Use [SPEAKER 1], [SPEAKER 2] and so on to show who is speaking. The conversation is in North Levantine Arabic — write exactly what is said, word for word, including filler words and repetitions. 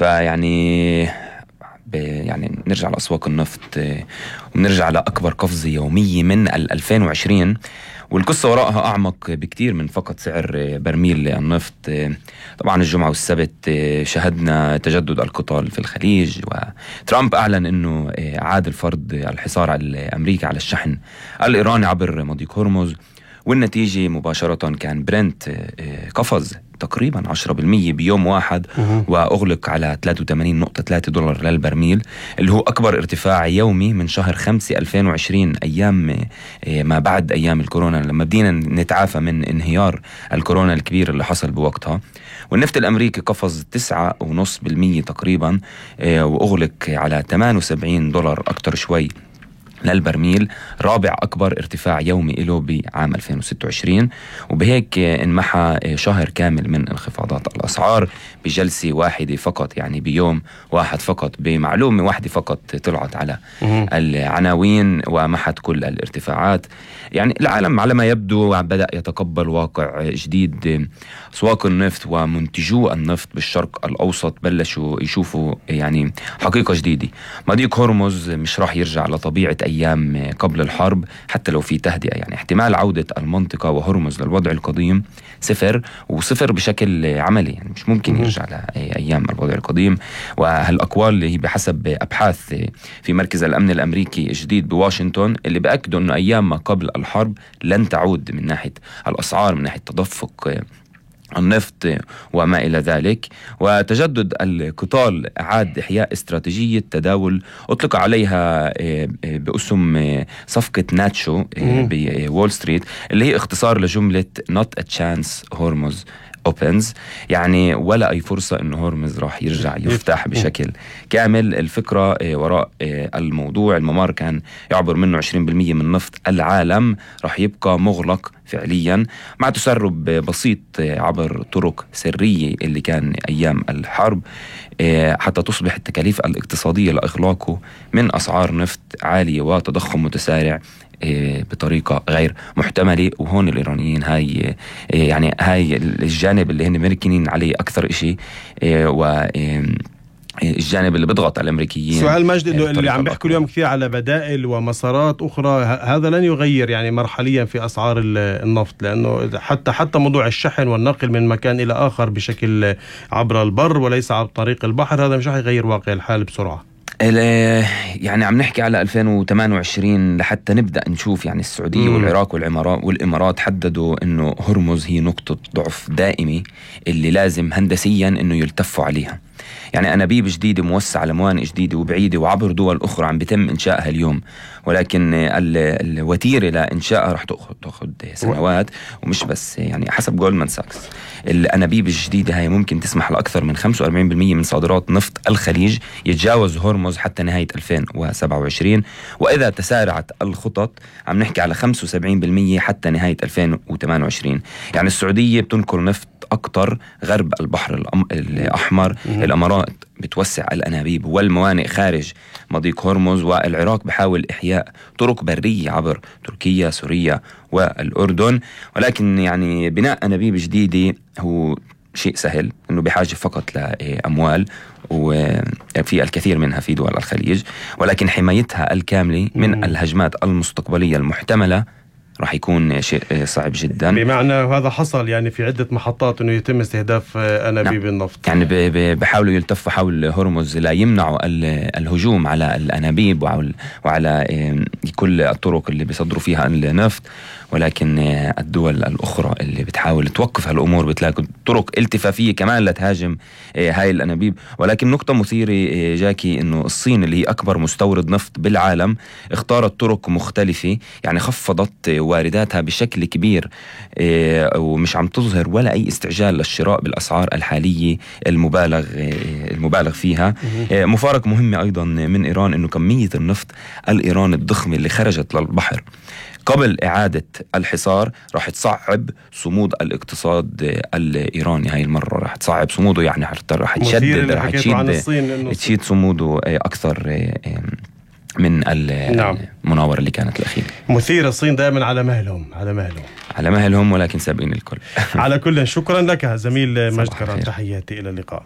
[SPEAKER 1] فيعني يعني نرجع لأسواق النفط ونرجع لأكبر قفزة يومية من ألفين وعشرين، والقصة وراءها أعمق بكتير من فقط سعر برميل النفط. طبعا الجمعة والسبت شهدنا تجدد القتال في الخليج، وترامب أعلن أنه أعاد الفرض الحصار على أمريكا على الشحن الإيراني عبر مضيق هرمز، والنتيجة مباشرة كان برنت قفز تقريبا عشرة بالمية بيوم واحد وأغلق على ثلاثة وثمانين نقطة ثلاثة دولار للبرميل، اللي هو أكبر ارتفاع يومي من شهر خمسة ألفين وعشرين، أيام ما بعد أيام الكورونا لما بدينا نتعافى من انهيار الكورونا الكبير اللي حصل بوقتها. والنفط الأمريكي قفز تسعة ونص بالمية تقريبا وأغلق على ثمانية وسبعين دولار أكتر شوي للبرميل، رابع أكبر ارتفاع يومي له بعام ألفين وستة وعشرين. وبهيك انمحى شهر كامل من انخفاضات الأسعار بجلسة واحدة فقط، يعني بيوم واحد فقط، بمعلومة واحدة فقط طلعت على العناوين ومحت كل الارتفاعات. يعني العالم على ما يبدو بدأ يتقبل واقع جديد. أسواق النفط ومنتجو النفط بالشرق الأوسط بلشوا يشوفوا يعني حقيقة جديدة. مضيق هرمز مش راح يرجع لطبيعة أيام قبل الحرب حتى لو في تهدئة، يعني احتمال عودة المنطقة وهرمز للوضع القديم صفر، وصفر بشكل عملي، يعني مش ممكن يرجع لأيام الوضع القديم. وهالأقوال اللي هي بحسب أبحاث في مركز الأمن الأمريكي الجديد بواشنطن اللي بأكدوا أنه أيام ما قبل الحرب لن تعود من ناحية الأسعار، من ناحية تدفق النفط وما إلى ذلك. وتجدد القتال أعاد إحياء استراتيجية تداول أطلق عليها باسم صفقة ناتشو بوول ستريت، اللي هي اختصار لجملة not a chance Hormuz opens، يعني ولا أي فرصة إنه هرمز راح يرجع يفتح بشكل كامل. الفكرة وراء الموضوع الممر كان يعبر منه عشرين بالمية من نفط العالم راح يبقى مغلق فعليا مع تسرب بسيط عبر طرق سرية اللي كان أيام الحرب، حتى تصبح التكاليف الاقتصادية لإغلاقه من أسعار نفط عالية وتضخم متسارع بطريقة غير محتملة. وهون الإيرانيين هاي يعني هاي الجانب اللي هن مركنين عليه أكثر إشي، و الجانب اللي بيضغط على الأمريكيين.
[SPEAKER 2] سؤال مجد إنه اللي عم بيحكوا اليوم كثير على بدائل ومسارات أخرى، هذا لن يغير يعني مرحليا في أسعار النفط، لأنه حتى حتى موضوع الشحن والنقل من مكان إلى آخر بشكل عبر البر وليس عبر طريق البحر هذا مش رح يغير واقع الحال بسرعة.
[SPEAKER 1] يعني عم نحكي على ألفين وثمانية وعشرين لحتى نبدأ نشوف يعني السعودية مم. والعراق والعمارات والإمارات حددوا إنه هرمز هي نقطة ضعف دائمة اللي لازم هندسيا إنه يلتفوا عليها. يعني أنابيب جديدة موسعة لموانئ جديدة وبعيدة وعبر دول أخرى عم بيتم إنشائها اليوم، ولكن الوتيرة لإنشائها رح تأخذ سنوات. ومش بس يعني حسب جولدمان ساكس الأنابيب الجديدة هاي ممكن تسمح لأكثر من خمسة وأربعين بالمية من صادرات نفط الخليج يتجاوز هرمز حتى نهاية ألفين وسبعة وعشرين، وإذا تسارعت الخطط عم نحكي على خمسة وسبعين بالمية حتى نهاية ألفين وثمانية وعشرين. يعني السعودية بتنقل نفط أكتر غرب البحر الأحمر، الأمارات بتوسع الأنابيب والموانئ خارج مضيق هرمز، والعراق بحاول إحياء طرق برية عبر تركيا سوريا والأردن. ولكن يعني بناء أنابيب جديدة هو شيء سهل، إنه بحاجة فقط لأموال وفي الكثير منها في دول الخليج، ولكن حمايتها الكاملة من الهجمات المستقبلية المحتملة راح يكون شيء صعب جدا.
[SPEAKER 2] بمعنى هذا حصل يعني في عدة محطات انه يتم استهداف انابيب نعم. النفط،
[SPEAKER 1] يعني بحاولوا يلتفوا حول هرمز لا يمنعوا الهجوم على الانابيب وعلى كل الطرق اللي بيصدروا فيها النفط، ولكن الدول الاخرى اللي بتحاول توقف هالامور بتلاقي طرق التفافيه كمان لتهاجم هاي الانابيب. ولكن نقطه مثيره جاكي انه الصين اللي هي اكبر مستورد نفط بالعالم اختارت طرق مختلفة، يعني خفضت وارداتها بشكل كبير ومش عم تظهر ولا أي استعجال للشراء بالأسعار الحالية المبالغ المبالغ فيها. مفارقة مهمة أيضا من إيران إنه كمية النفط الإيراني الضخمة اللي خرجت للبحر قبل إعادة الحصار راح تصعب صمود الاقتصاد الإيراني. هاي المرة راح تصعب صموده، يعني راح تشدد راح تشيد تشيد صموده أكثر من المناورة اللي كانت الأخيرة.
[SPEAKER 2] مثيرة، الصين دائما على مهلهم على مهلهم
[SPEAKER 1] على مهلهم ولكن سابقين الكل.
[SPEAKER 2] على كل شكرا لك زميل مجد كران، تحياتي إلى اللقاء.